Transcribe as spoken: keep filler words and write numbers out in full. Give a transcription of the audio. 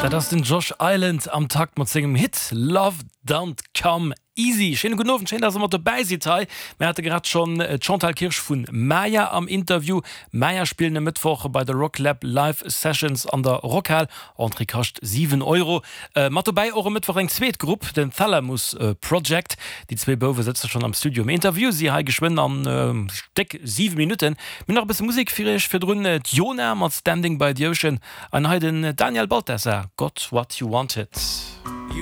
Dat ass den Josh Island am Takt mat sengem Hit Love Don't Come Easy. Schéine gudden Owend, schéin dass der mat dobäi sidd hei. Mir hate grad schonn d'Chantal Kirsch vu Maya am Interview. Maya spillen e Mëttwoch bei de Rocklab Live Sessions an der Rockhal. Entrée kascht siwen Euro. Mat dobäi och e Mëttwoch eng zweet Grupp, den Thalamus Project. Déi zwee Bouwe sëtze schonn am Studio. Mir interviewe si hei geschwënn an déck siwe Minutten. Mir hunn nach e bësse Musek fir iech. Virdrun d'Yona mat Standing by the Ocean an hei den Daniel Balthasar, Got What You Wanted.